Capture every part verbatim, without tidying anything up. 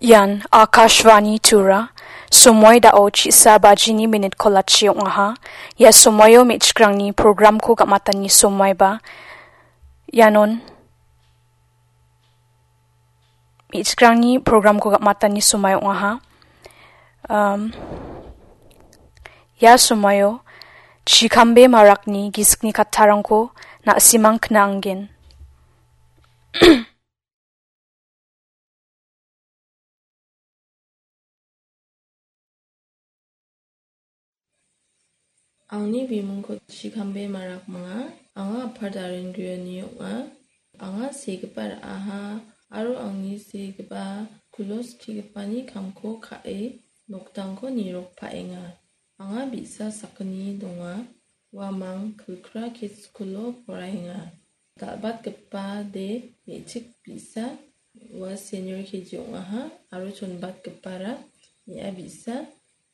Ian Akashvani Tura, somoi dao chisa bajini minit kolachi ong·aha. Ia somoio me·chikrangni programko gam·atani somoiba. Ianon me·chikrangni programko gam·atani somoi ong·aha. Um, ia somoio chikambe marakni gisikni kattarangko na·simang kna·angen. Angni bimingko chikambe marakming. Anga apar Darendriani ong·a. Anga segipa ra·aha aro angni segipa kulo skigipani kamko ka·e noktangko nirokpaenga. Anga bi·sa sakgni donga. Uamang Kilkra Kids School-o poraenga. Dal·batgipa de me·chik bi·sa, ua senior K G ong·aha aro chonbatgipara me·a bi·sa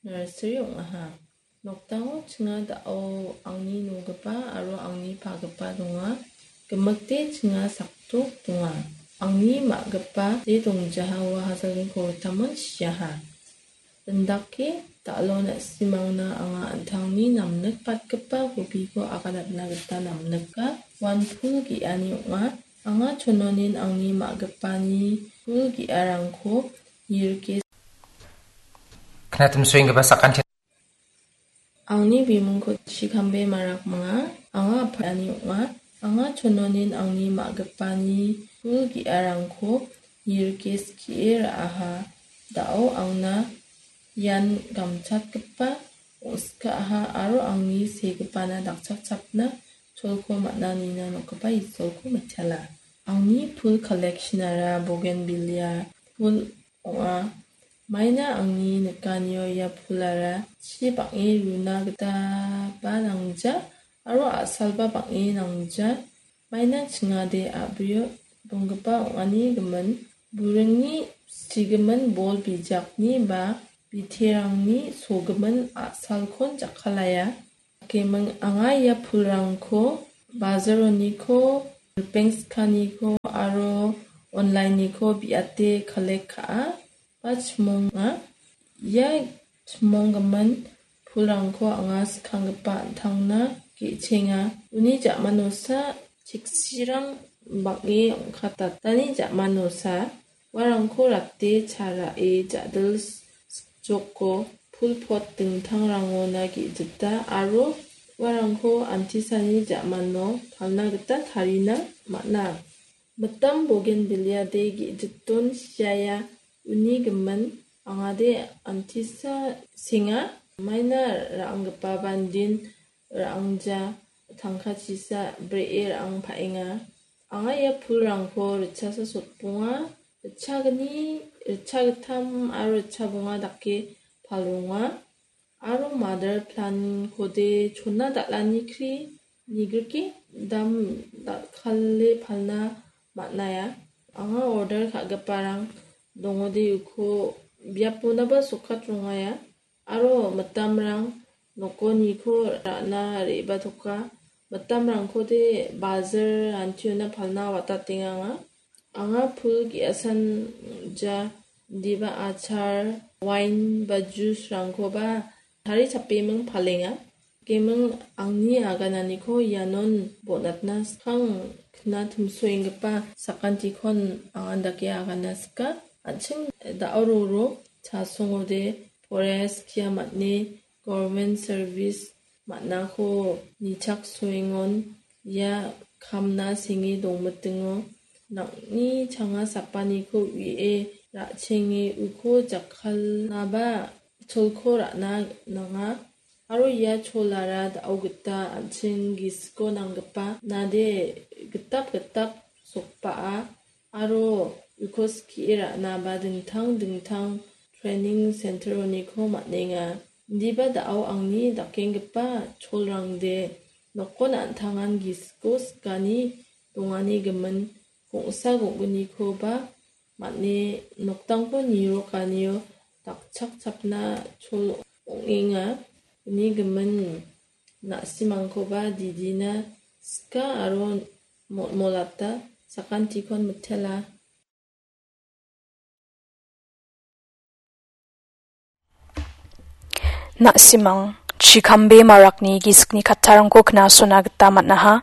nursery ong·aha. Nokdango chinga da·o angni nogipa aro angni pagipa donga. Gimikde chinga sakdok donga. Angni ma·gipa de dongjaha ua hajalgni koritamon siaha. Indake dal·o na·simangna anga an·tangni namnikbatgipa hobiko aganatna gita namnika. Uan pul ge·ani ong·a. Anga chononin angni ma·gipani pul ge·arangko nirike. Knatim suenggipa sakanti. Angni bimingko chikambe marakming. Anga apani ong·a. Anga chononin angni ma·gipani pul ge·arangko nirike skie ra·aha. Da·o angna ian gamchatgipa ong·skaaha aro angni segipana dakchakchapna cholko man·a nina nokgipa Isolko mitela. Angni pul collection-ara bougainvillea pul ong·a. Maina angni nikanio ia pulara chi bang·e runa gitaba nangja aro a·salba bang·e nangja. Maina chingade a·brio donggipa ong·ani gimin, buringni sigimin bol bijakni ba biterangni sogimin a·salkon jakkalaya. Dakeming anga ia pulrangko bazaroniko, ripeng skaniko aro online-niko biate collect ka·a ba chimonga. Ia chimonggimin pulrangko anga skanggipa an·tangna ge·chenga. Uni ja·manosa cheksirang bang·e ong·katatani ja·manosa uarangko rate cha ra·e ja·dil sikjoko pul pot dingtangrangona ge·jita aro uarangko antisani ja·mano palna gita tarina man·a. Mitam bougainvillea de ge·jiton siaia uni gimin angade antisa senga. Maina ra·anggipa bandin ra·angja tangkachisa bree ra·ang pa·enga. Anga ia pulrangko ritchasa sotbonga, ritchagni, ritchagittam aro ritchabonga dake palronga. Aro mother plant-kode chona dal·ani kri nigrike dam dal·kale palna man·aia. Anga order ka·giparang dongode uko biaponaba sokat rongaia. Aro mitamrang nokoniko ra·na re·batoka. Mitamrangkode bajar antiona palna watatenga anga. Anga pul ge·asan ja, indiba achar, wain ba juice-rangkoba tari chapeming palenga. Keming angni agananiko ianon bonatna skang kna timsoenggipa sakantikon angan dake agana sika. An·ching da·o roro chasongode forest kia man·e government service man·ako nichak soengon ia kamna senge dongmitingo nang·ni changa sapaniko u·ie ra·chenge uko jakkalnaba cholko ra·na nanga. Aro ia cholara da·o gita an·ching gisiko nanggipa nade gitap gitap sokba·a. Aro uko skie ra·naba dingtang dingtang training center-oniko man·enga. Indiba da·o angni dakenggipa cholrangde nokon an·tangan gisiko sikani dongani gimin gongsa gonggnikoba man·e noktangko nirokanio dakchakchapna chol ong·enga. Uni gimin na·simangkoba didina sika aro mol-, molata sakantikon mitela. Na·simang, chikambe marakni gisikni kattarangko knasona gita man·aha.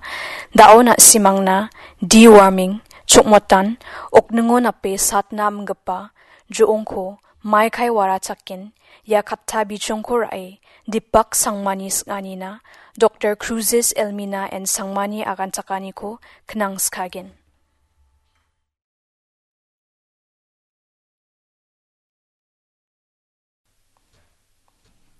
Da·o na·simangna deworming, chokmotan, okningo nape satna amgipa jo·ongko maikai warachaken, ia katta bijongko ra·e, Dipak Sangmani sing·anina, Doktor Cruises Elmina N Sangmani aganchakaniko knangskagen.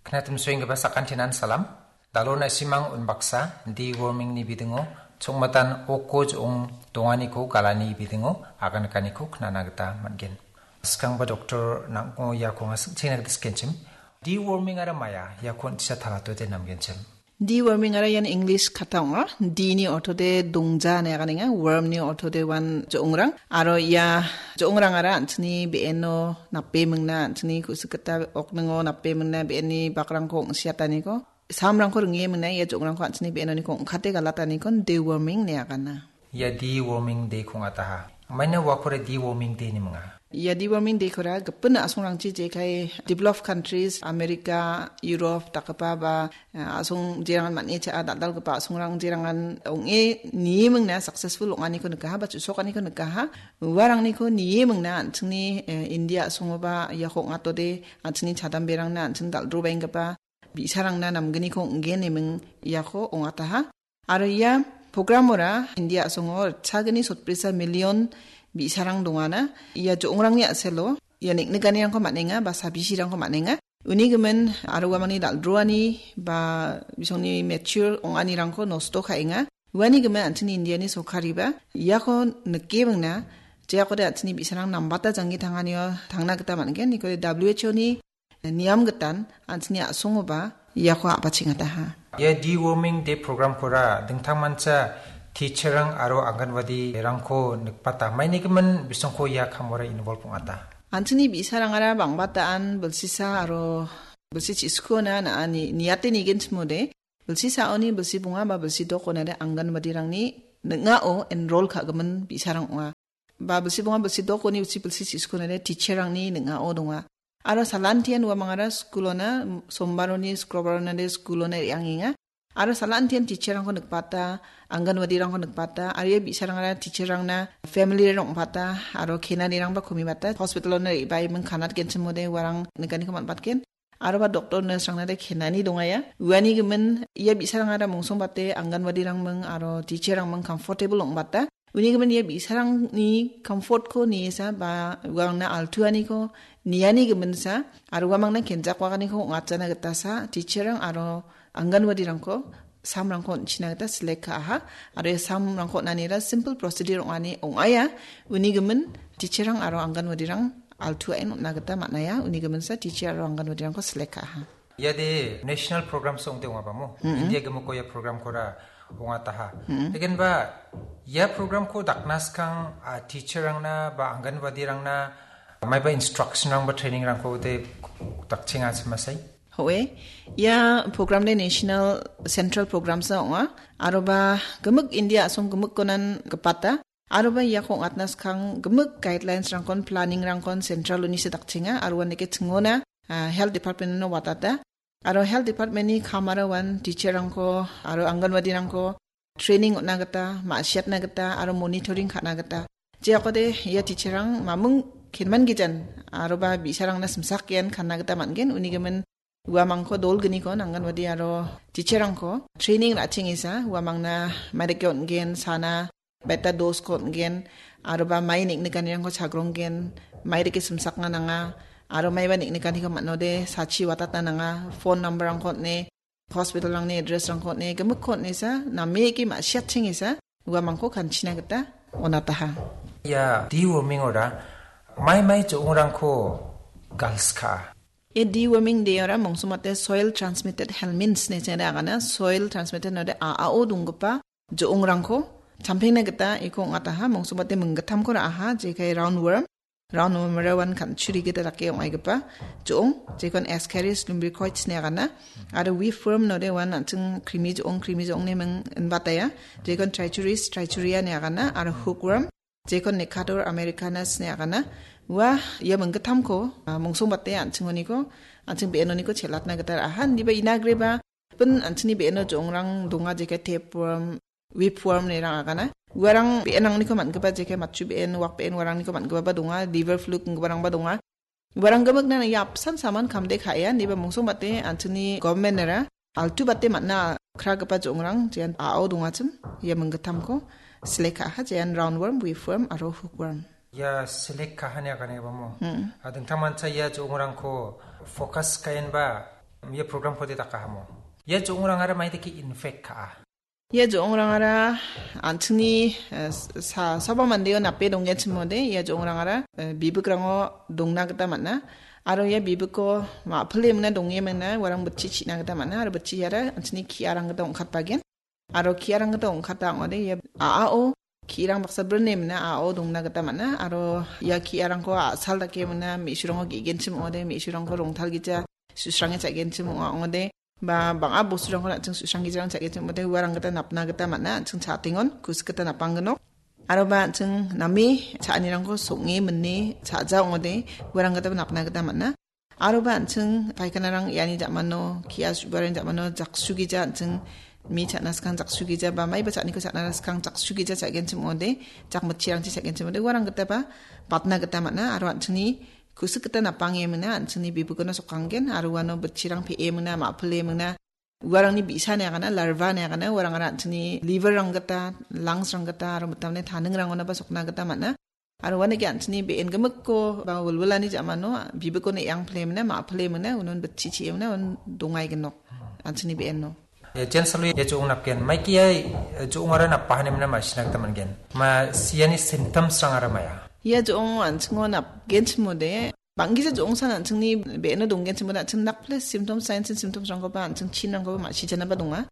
Knatim suenggipa sakantinan salam. Dalo na·simang unbaksa, deworming-ni bidingo, chongmatan oko jo·ong donganiko galani bidingo, agan nikaniko knana gita man·gen. Skangba doktor nang·o iako anga sing·chengna gita sikenchim. Deworming-ara maia, iako on·tisa talatode namgenchim. Deworming-ara ian English kata ong·a. D-ni ortode dongja ine aganenga, worm-ni ortode uan jo·ongrang. Aro ia jo·ongrangara an·chingni be·eno nape mingna, an·chingni ku·sik gita okningo nape mingna, be·enni bakrangko ong·siataniko, samrangko ringe mingna, ia jo·ongrangko an·chingni be·enoniko ong·kate galataniko deworming ine agana. Ia deworming day-ko ong·ataha. Maina uakora deworming day-ni minga? Ia deworming day-kora gipin a·songrangchi jekai developed countries, America, Europe dakgipa ba, eh, a·song jerangan man·e cha·a dal·dalgipa a·songrang jerangan ong·e nie mingna successful ong·aniko nikaha ba chu·sokaniko nikaha. Uarangniko nie mingna an·chingni, eh, India a·songoba iako ong·atode an·chingni chadamberangna an·ching dal·drobaenggipa bi·sarangna namgniko ong·gen eming iako ong·ataha. Aro ia programora India a·songo ritchagni sotbrisa million bi·sarang dongana. Ia jo·ongrangni a·selo ia neng·nikanirangko man·enga ba sabisirangko man·enga. Uni gimin aro uamangni dal·droani ba bisongni mature ong·anirangko nosto ka·enga. Uani gimin an·chingni Indiani sorkariba iako nikebingna jeakode an·chingni bi·sarang nambata janggi tanganio tangna gita man·gen. Nikode W H O-ni niam gitan an·chingni a·songoba iako a·bachengataha. Ia deworming day program-kora dingtangmancha teacher-rang aro anganwadi-rangko nikbata. Mainigimin bisongko ia kamora involve ong·ata. An·chingni bi·sarangara bang·bataan bilsisa aro bilsi chiskuona na·ani niate nigenchimode, bilsi saoni bilsi bonga ba bilsi dokona de anganwadi-rangni ning·ao enroll ka·gimin bi·sarang ong·a. Ba bilsi bonga bilsi dokoni uchi bilsi chiskuona de teacher-rangni ning·ao donga. Aro salantian uamangara skulona sombaroni skrobarona de skulona re·angenga. Aro salantian teacher-rangko nikbata, anganwadi-rangko nikbata, aro ia bi·sarangara teacher-rangna family-rang ong·bata, aro kenanirangba komibata, hospital-ona re·baiming kanatgenchimode uarang nikaniko man·batgen. Aroba doctor nurse-rangna de kenani dongaia. Uani gimin ia bi·sarangara mongsongbate anganwadi-rangming aro teacher-rangming comfortable ong·bata. Uni gimin ia bi·sarangni comfort-ko niesa ba uangna altuaniko niani giminsa aro uamangna kenjakwaganiko ong·atjana gitasa teacher-rang aro anganwadi-rangko samrangko on·china gita select ka·aha. Aro ia samrangko on·anira simple procedure ong·ani ong·aia. Uni gimin teacher-rang aro anganwadi-rang altuaen on·na gita man·aia. Uni giminsa teacher aro anganwadi-rangko select ka·aha. Iade national program-sa ong·de ong·abamo. Mm-mm. India gimiko ia program-kora ong·ataha. Mm-mm. Lekin ba ia program-ko dakna skang, ah, teacher-rangna ba anganwadi-rangna maiba instruction-rang ba training-rangko de dakchenga semasai? Hoe, ia program de national central program-sa ong·a. Aroba gimik India a·song gimikkonan gipata. Aroba iako ong·atna skang gimik guidelines-rangkon, planning-rangkon central-oni sedakchenga, aro uandake chingona, ah, health department-ono watata. Aro health department-ni kamara uan teacher-rangko, aro anganwadi-rangko training on·na gita, ma·siatna gita, aro monitoring ka·na gita. Jeakode ia teacher-rang mamung kenman gijan, aroba bi·sarangna simsak ian kanna gita man·gen, uni gimin uamangko dolgniko anganwadi aro teacher-rangko training ra·chengesa, uamangna maidake on·gen, sana, beta dose-ko on·gen, aroba mai neng·nikanirangko chagronggen, maidake simsakna nanga, aro maiba neng·nikaniko man·ode sachi watatna nanga, phone number-rangko on·e, hospital-rangni address-rangko on·e, gimikko on·esa, nameke ma·siatchengesa, uamangko kanchina gita on·ataha. Ia deworming-ora mai mai jo·ongrangko galska. Ia deworming day-ora mongsongbate soil transmitted helminths ine chengna agana, soil transmitted node a·ao donggipa jo·ongrangko champengna gita iko ong·ataha, mongsongbate minggittamko ra·aha, jekai roundworm, roundworm-ara uan kan·churi gita dake ong·aigipa jo·ong, jekon Ascaris lumbricoides ine agana, aro whipworm node uan an·ching krimi jo·ong, krimi jo·ong ine ming inbataya, jekon Trichuris trichuria ine agana, aro hookworm, jekon Nekador americanus ine agana. Ua ia minggittamko, ah, mongsombate an·chingoniko, an·ching be·enoniko chelatna gita ra·aha. Indiba inagreba, pin an·chingni be·eno jo·ongrang donga, jeke tapeworm, whipworm inerang agana. Uarang be·enrangniko man·gipa, jeke matchu be·en, wak be·en uarangniko man·gipaba donga, liver fluke inggiparangba donga. Uarang gimikna ia apsan saman kamde ka·enba, indiba mongsombate an·chingni government-era altu bate man·a kragipa jo·ongrang, jean A O dongachim, ia minggittamko select ka·aha, jean roundworm, whipworm aro hookworm. Ia select ka·ani aganebamo. Hmm. Ah, dingtangmancha ia jo·ongrangko focus ka·enba ia program-kode dakahamo. Ia jo·ongrangara maidake infect ka·a. Ia jo·ongrangara an·chingni, eh, sa-, saba mandeo nape donggenchimode, ia jo·ongrangara, eh, bibikrango dongna gita man·a. Aro ia bibiko ma·pile mingna donge mingna uarang bitchi chi·na gita man·a. Aro bitchiara an·chingni ki·arang gita ong·katbagen. Aro ki·arang gita ong·kata ong·ode ia a·ao ki·rang baksa brine mingna a·ao dongna gita man·a. Aro ia ki·arangko a·sal dake mingna me·surangko ge·genchim ong·ode, me·surangko rongtalgija, su·srange cha·genchim ong·a ong·ode. Ba bang·a bosturangko an·ching su·sranggijarang cha·genchim ong·ode, uarang gita napna gita man·a, an·ching cha·atengon, kusik gita napanggnok. Aroba an·ching name cha·anirangko song·e mine cha·ja ong·ode, uarang gitaba napna gita man·a. Aroba an·ching paikanarang iani ja·mano, kia su·barang ja·mano, jaksugija an·ching mi cha·na skang jaksugija, ba maiba cha·niko cha·na skang jaksugija cha·genchim ong·ode, jak mitchirangchi cha·genchim ong·ode, uarang gitaba batna gita man·a, aro an·chingni kusik gita napange mingna, an·chingni bibikono sokanggen, aro uano bitchirang pe·e mingna, ma·pile mingna, uarangni bi·sani agana, larva ni agana, uarangara an·chingni liver-rang gita, lungs-rang gita, aro mitamni taningrangonaba sokna gita man·a. Aro uanike an·chingni be·en gimikko ba wilwilani ja·mano bibikon e·ang pile mingna, ma·pile mingna, unon bitchi chi·e mingna, unon dongai gnok an·chingni be·eno. Ia jen salo ia jo·ong napgen, maike ia, eh, jo·ongara napahani mingna ma·sina gita man·gen. Ma siani symptoms-rangara maia? Ia jo·ong an·chingo napgenchimode, bang·gija jo·ongsan an·chingni be·eno donggenchimode, an·ching nakples symptoms, signs and symptoms-rangkoba, an·ching chinrangkoba ma·sijanaba donga.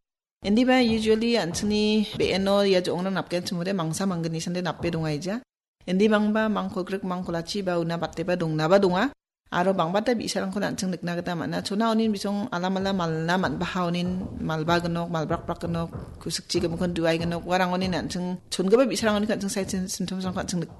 Indiba usually an·chingni be·eno ia jo·ongrang napgenchimode mangsa manggnini sande nape dongaija. Indi bangba mangkolgrik mangkolachi ba una bateba dongnaba donga. Aro bangbata bi·sarangko an·ching nikna gita man·a. Chona onin bisong alamala malna man·baha onin malba gnok, malbrakbrak gnok, kusikchi gimikkon duai gnok, uarang onin an·ching chongipa bi·sarang onin an·ching side syn-, symptoms-rangko an·ching nik-,